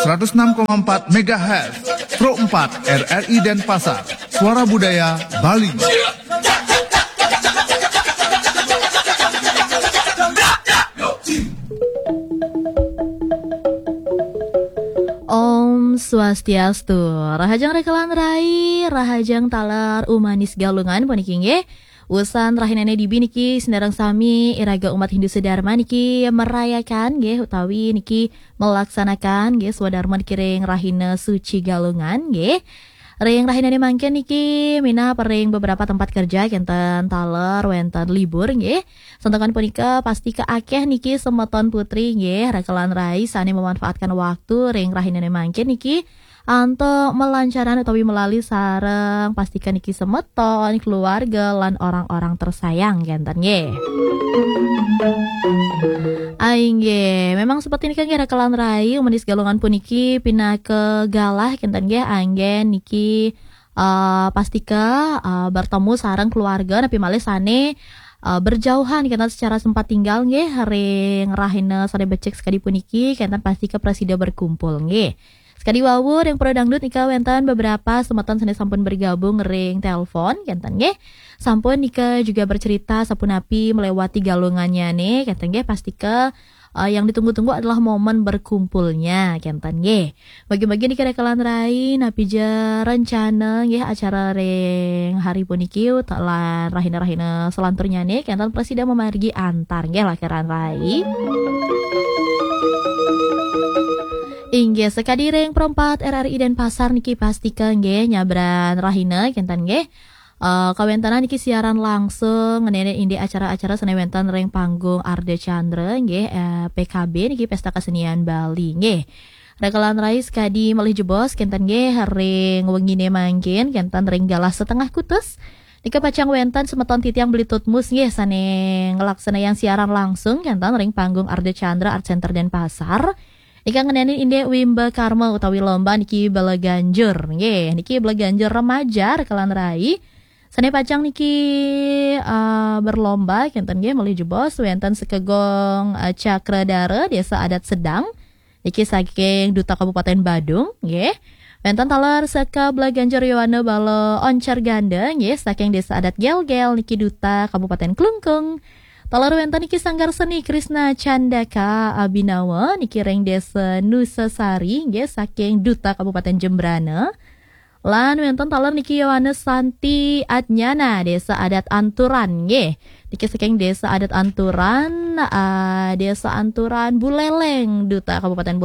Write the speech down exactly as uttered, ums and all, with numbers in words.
seratus enam koma empat megahertz, Pro empat R R I Denpasar, Suara Budaya Bali. Om Swastiastu. Rahajeng rekelan rai, rahajeng taler umanis Galungan puniki nggih. Usan rahinane dibi niki sinareng sami iraga umat Hindu sedharma niki merayakan nggih utawi niki melaksanakan nggih swadarma niki ring rahina suci Galungan nggih. Ring rahinane mangkin niki minab ring beberapa tempat kerja kenten taler wenten libur nggih. Santakan punika pastika akeh niki semeton putri nggih rekelan rai sane memanfaatkan waktu ring rahinane mangkin niki antuk melancaran utawi melali sareng pastika niki semeton, keluarga lan orang-orang tersayang kenten nggih. Ainggih, memang seperti niki nggih rekelan rai umanis Galungan puniki pinaka galah kenten nggih anggen niki eh, pastika eh, bertemu sareng keluarga napi malih sane eh, berjauhan kenten secara sempat tinggal nggih ring rahina sane becik sekadi puniki kenten pastika prasida berkumpul nggih. Sekadi wau ring Pro Dangdut nika wenten beberapa semeton sane sampun bergabung ring telepon kenten nggih. Sampun nika juga bercerita sapunapi melewati galungannyane kenten nggih pastika eh, yang ditunggu-tunggu adalah momen berkumpulnya kenten nggih. Bagi-bagi niki rekelan rai napi ja rencana nggih acara ring hari puniki utawi rahina-rahina selanturnyane kenten prasida mamargi antar nggih rekelan rai. Inggih sekadi ring Pro empat R R I Denpasar niki pastika nggih nyabran rahina kenten nggih. Eh, kawentenan niki siaran langsung ngeninin indik acara-acara sane wenten ring panggung Ardha Candra nggih eh, P K B niki Pesta Kesenian Bali nggih. Rekelan rai sekadi malih jebos kenten nggih ring wengine mangkin kenten ring galah setengah kutus. Nika pacang wenten semeton titiang Beli Tutmus nggih sane ngelaksanayang siaran langsung kenten ring panggung Ardha Candra Art Center Denpasar. Nika ngenenin indik Wimba Karma utawi lomba niki bela ganjur nggih. Niki bela ganjur remaja rekelan rai. Sane pacang niki eh, berlomba kenten nggih malih jebos wenten Sekegong eh, Cakradara Desa Adat Sedang. Niki saking Duta Kabupaten Badung nggih. Wenten taler Seka Bela Ganjur Yowana Bala Oncar Ganda nggih saking Desa Adat Gelgel niki Duta Kabupaten Klungkung. Taler wenten niki Sanggar Seni Krisna Candaka Abinawa niki ring Desa Nusa Sari nggih saking Duta Kabupaten Jembrana. Lan wenten taler niki Yohanes Santi Adnyana Desa Adat Anturan nggih. Niki saking Desa Adat Anturan, ah, Desa Anturan Buleleng Duta Kabupaten Buleleng.